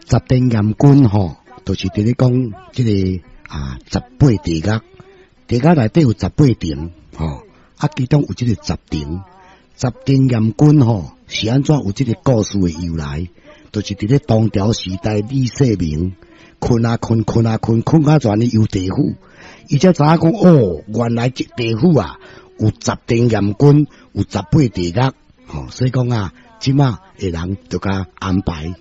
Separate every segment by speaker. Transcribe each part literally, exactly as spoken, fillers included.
Speaker 1: 十殿閻君吼，就是佇咧講這個啊十八地獄，地獄內底有十八層吼，啊其中有這個十殿，十殿閻君吼是按怎有這個故事的由來？就是佇咧唐朝時代李世民睏啊睏，睏啊睏，睏到全咧遊地府，伊才知影講哦，原來這地府啊有十殿閻君，有十八地獄，吼，所以講啊，這馬的人就共安排。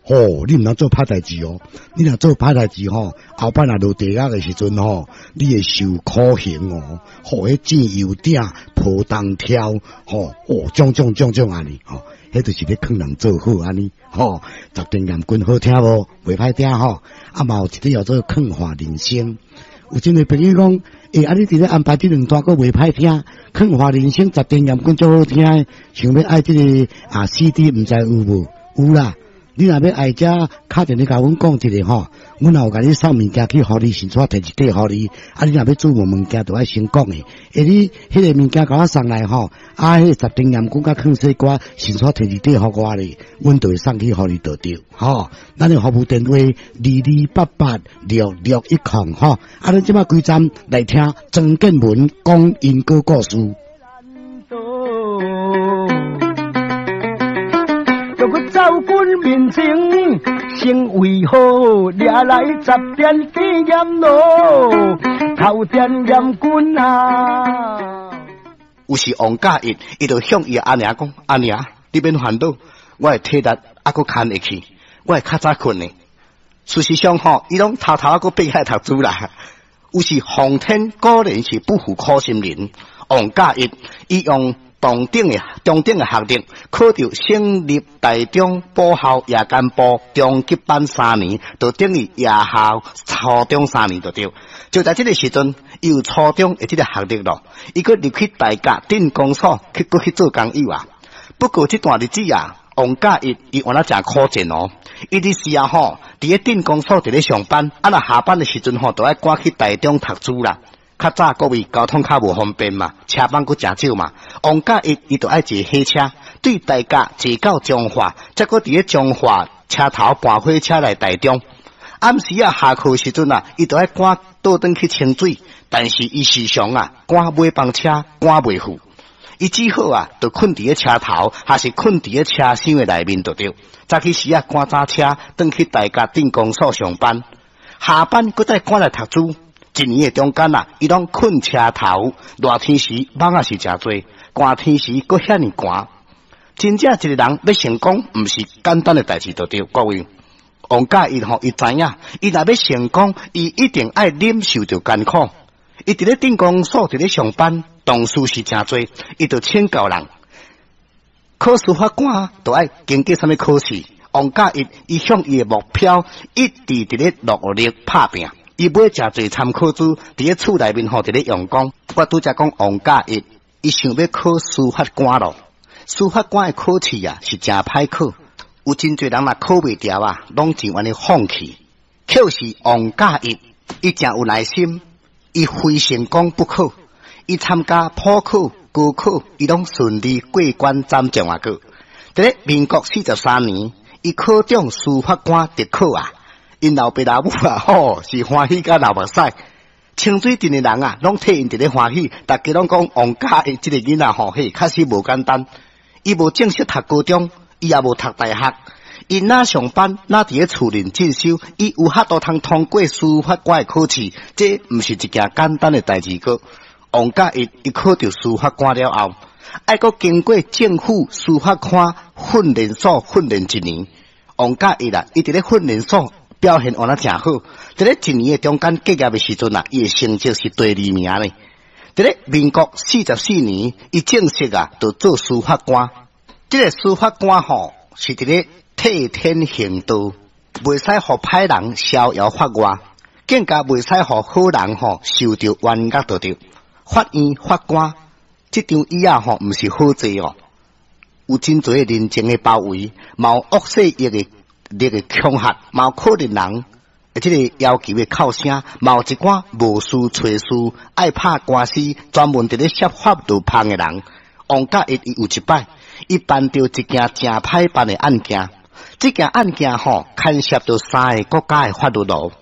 Speaker 1: 哦，你毋通做歹代誌哦！你若做歹代誌吼，後擺若落地獄的時陣吼，你會受苦刑哦。吼，彼煎油鼎、抱銅柱，吼，哦，種種種種按呢，吼，彼就是咧勸人做好按呢，吼。十殿閻君好聽無？袂歹聽吼。啊，嘛有一個叫做勸化人生。有真濟朋友講，欸，啊，你佇咧安排這兩段閣袂歹聽，勸化人生十殿閻君足好聽，想欲愛這個啊 C D，毋知有無？有啦。你若欲愛遮，敲電話共阮講一下吼，阮若有共你送物件去，予你，先帶提一塊予你。啊，你若欲注文物件，就愛先講的。欸，你彼個物件共我送來吼，啊，彼個十殿閻君佮勸世歌，先帶提一塊予我咧，阮就會送去予你就對。吼，咱的服務電話二二八八六六一空吼。啊，咱這馬開站來聽曾建文講因果故事。
Speaker 2: 走軍面前，先為何掠來十殿殿閻羅，頭殿閻君啊！
Speaker 3: 有時王嘉逸，伊就向伊阿娘講：阿娘，你免煩惱，我的體力猶閣堪會去，我會較早睏的。事實上吼，伊攏偷偷猶閣爬起來讀書啦。有時皇天果然是不負苦心人，王嘉逸伊用同等的中等的學歷，考著省立台中補校夜間部中級班三年，就等於夜校初中三年就對。就在這個時陣，伊有初中的這個學歷咯，伊閣入去大甲鎮公所去，閣去做工友啊。不過這段日子啊，王嘉逸伊原來誠苦戰哦。伊佇時啊吼，佇咧鎮公所佇咧上班，啊若下班的時陣吼，就愛趕去台中讀書啦。較早各位交通較無方便嘛，車班閣誠少嘛。王嘉逸伊就愛坐火車，對大甲坐到彰化，再閣佇咧彰化車頭盤火車來台中。暗時啊下課時陣啊，伊就愛趕倒轉去清水，但是伊時常啊趕尾班車趕袂赴，伊只好啊就睏佇咧車頭，還是睏佇咧車廂的內面就對。早起時啊趕早車，轉去大甲鎮公所上班，下班閣再趕來讀書。一年的中間啊，伊攏睏車頭，熱天時蠓仔是誠濟，寒天時閣遐爾寒。真正一個人欲成功，毋是簡單的代誌就對。各位，王嘉逸吼，伊知影，伊若欲成功，伊一定愛忍受著艱苦。伊佇咧鎮公所佇咧上班，同事是誠濟，伊就請教人。考司法官就愛經過啥物考試？王嘉逸伊向伊的目標一直佇咧努力拍拚。伊買誠濟參考書，佇咧厝內面吼，佇咧用功。我拄才講王嘉逸，伊想欲考司法官咯。司法官的考試啊，是誠歹考，有真濟人若考袂著啊，攏真願意放棄。可是王嘉逸，伊誠有耐心，伊非成功不可。伊參加普考、高考，伊攏順利過關斬將啊！閣佇咧民國四十三年，伊考中司法官特考啊！𪜶老爸老母啊，吼是歡喜甲流目屎。清水鎮的人啊，攏替𪜶佇咧歡喜，逐家攏講王嘉逸這個囡仔吼，嘿，確實無簡單。伊無正式讀高中，伊也無讀大學，伊若上班，若佇咧厝裡進修，伊有法度通通過司法官的考試，這毋是一件簡單的代誌。閣王嘉逸伊考著司法官了後，愛閣經過政府司法官訓練所訓練一年。王嘉逸啊，伊佇咧訓練所表現原來誠好，佇咧一年的中間結業的時陣啊，伊的成績是第二名呢。佇咧民國四十四年，伊正式啊，就做司法官。這個司法官吼，是佇咧替天行道，袂使予歹人逍遙法外，更加袂使予好人吼受著冤獄就對。法院法官這張椅仔吼，毋是好坐哦，有真濟人情的包圍，嘛有惡勢力的力的恐嚇，嘛有可憐人這個要求的哭聲，嘛有一寡無事揣事，愛拍官司，專門佇咧設法度芳的人。王嘉逸伊有一擺，伊辦著一件誠歹辦的案件，這件案件吼，牽牽涉著三个國家的法律咯，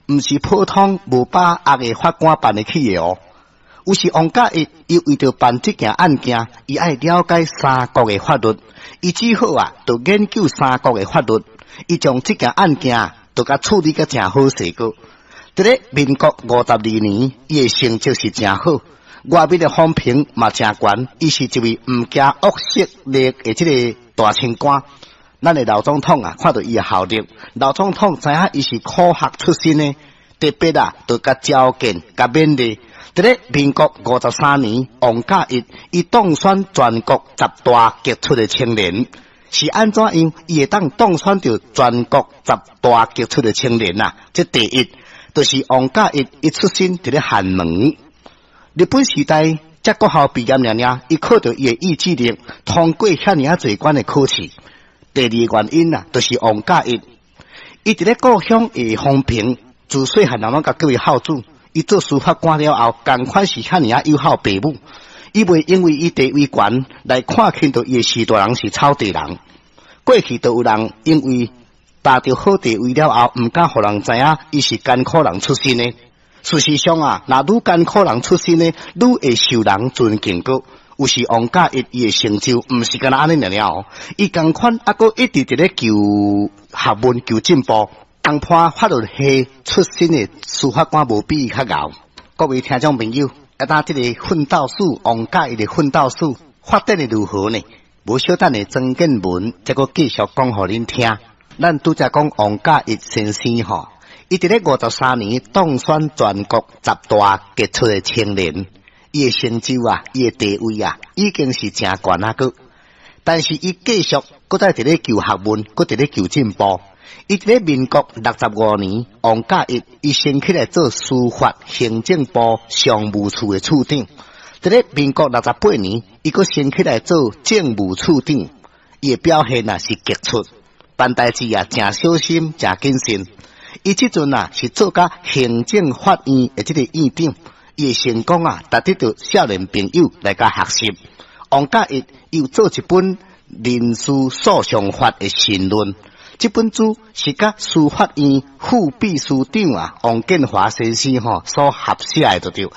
Speaker 3: 毋是普通無把握的法官辦會起的哦。有時王嘉逸，伊為著辦這件案件，伊愛了解三國的法律，伊只好啊，就研究三國的法律，伊將這件案件就共處理甲誠好勢閣。佇咧民國五十二年，伊的成績是誠好，外面的風評嘛誠懸，伊是一位毋驚惡勢力的這个大清官。咱的老總統啊，看著伊的效力，老總統知影伊是苦學出身的，特別啊，就共召見、共勉勵。佇咧民國五十三年，王嘉逸伊當選全國十大傑出的青年，是按怎樣？伊會當當選著全國十大傑出的青年啊？這第一，就是王嘉逸伊出身佇咧寒門。日本時代，才國校畢業爾爾，伊靠著伊的意志力，通過遐爾仔濟關的考試。第二个原因啊，就是王嘉逸，伊佇咧故鄉的風評，自細漢人攏共叫伊孝子。伊做司法官了後，仝款是遐爾仔友好爸母。伊袂因為伊地位懸來看輕著伊的序大人是草地人。過去就有人因為達著好地位了後，毋敢予人知影伊是艱苦人出身的。事實上啊，若愈艱苦人出身的，愈會受人尊敬閣。有時王嘉逸伊的成就，毋是干焦按呢爾爾哦，伊仝款猶閣一直佇咧求學問、求進步。同判法律系出身的司法官無比伊較𠢕。各位聽眾朋友，啊，當這个奮鬥史王嘉逸的奮鬥史發展的如何呢？無小等下曾建文才閣繼續講予恁聽。咱拄才講王嘉逸先生吼，伊佇咧五十三年當選全國十大傑出的青年，伊的成就啊，伊的地位啊，已經是誠懸啊閣。但是伊繼續閣再佇咧求學問，閣佇咧求進步。伊佇咧民國六十五年，王嘉逸伊升起來做司法行政部常務處的處長。佇咧民國六十八年，伊閣升起來做政務處長。伊的表現啊是傑出，辦代誌啊誠小心，誠謹慎。伊這陣啊是做甲行政法院的這个院長，伊的成功啊，值得著少年朋友來共學習。王嘉逸伊有做一本民事訴訟法的申論。這本書是佮司法院副秘書長啊王建華先生吼所合寫的，就對，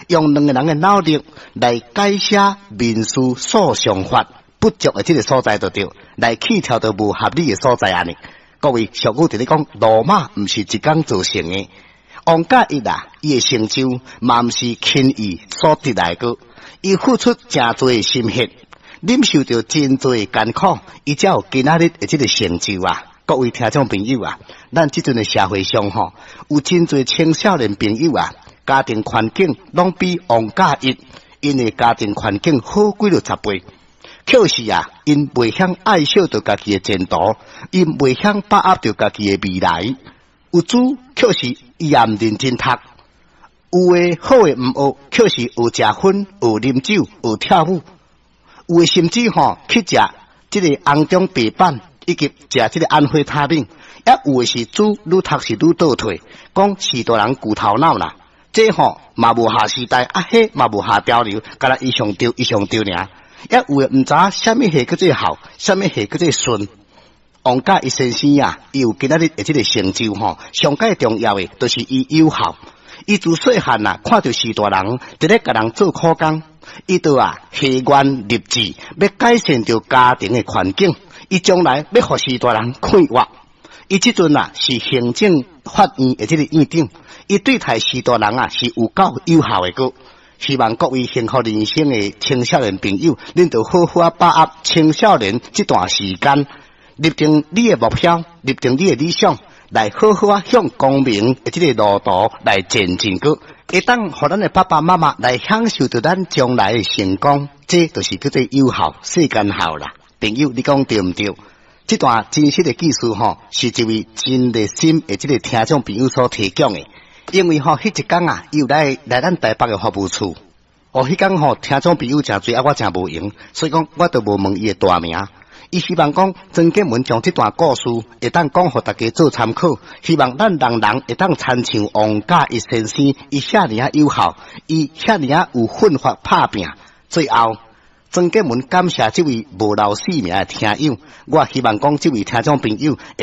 Speaker 3: 用兩个人的腦力來改寫民事訴訟法不足的這个所在，就對，來去除著無合理的所在按呢。各位俗語佇咧講，羅馬毋是一工造成的。王嘉逸啊，伊的成就嘛毋是輕易所得來的，伊付出誠濟的心血，忍受著真濟艱苦，伊才有今仔日的這个成就啊！各位聽眾朋友啊，咱這陣的社會上吼，有真濟青少年朋友啊，家庭環境攏比王嘉逸𪜶的家庭環境好幾落十倍。可是啊，𪜶袂曉愛惜著家己的前途，𪜶袂曉把握著家己的未來。有主卻是伊也毋認真讀，有的好的毋學，卻是學食薰、學啉酒、學跳舞。有的甚至吼去食這个紅中白板，以及食這个安非他命。也有的是主愈讀是愈倒退，講序大人舊頭腦啦。這吼嘛無合時代，啊彼嘛無合潮流，干焦伊上著伊上著爾。也有的毋知影啥物戲叫做孝，啥物戲叫做順。王嘉逸先生啊，伊有今仔日的這个成就吼，上蓋重要的就是伊有孝。伊自細漢啊，看著序大人佇咧共人做苦工，伊就啊下願立志，欲改善著家庭的環境。伊將來欲予序大人快活。伊這陣啊是行政法院的這个院長，伊對待序大人啊是有夠有孝的閣。希望各位幸福人生的青少年朋友，恁著好好啊把握青少年這段時間，立定你的目標，立定你的理想，來好好啊向光明的這个路途來前進閣，會當予咱的爸爸媽媽來享受著咱將來的成功，這就是叫做有孝，世間孝啦。朋友，你講對毋對？這段真實的故事吼，是一位真熱心的這个聽眾朋友所提供的。因為吼，彼一工啊，伊有來來咱台北的服務處。哦，彼工吼，聽眾朋友誠濟，啊，我誠無閒，所以講我都無問伊的大名。伊希望講曾建文將這段故事會當講予大家做參考，希望咱人人會當參像王嘉逸先生，伊遐爾仔有孝，伊遐爾仔有奮發拍拚。最後，曾建文感謝這位無留姓名的聽友，我希望講這位聽眾朋友。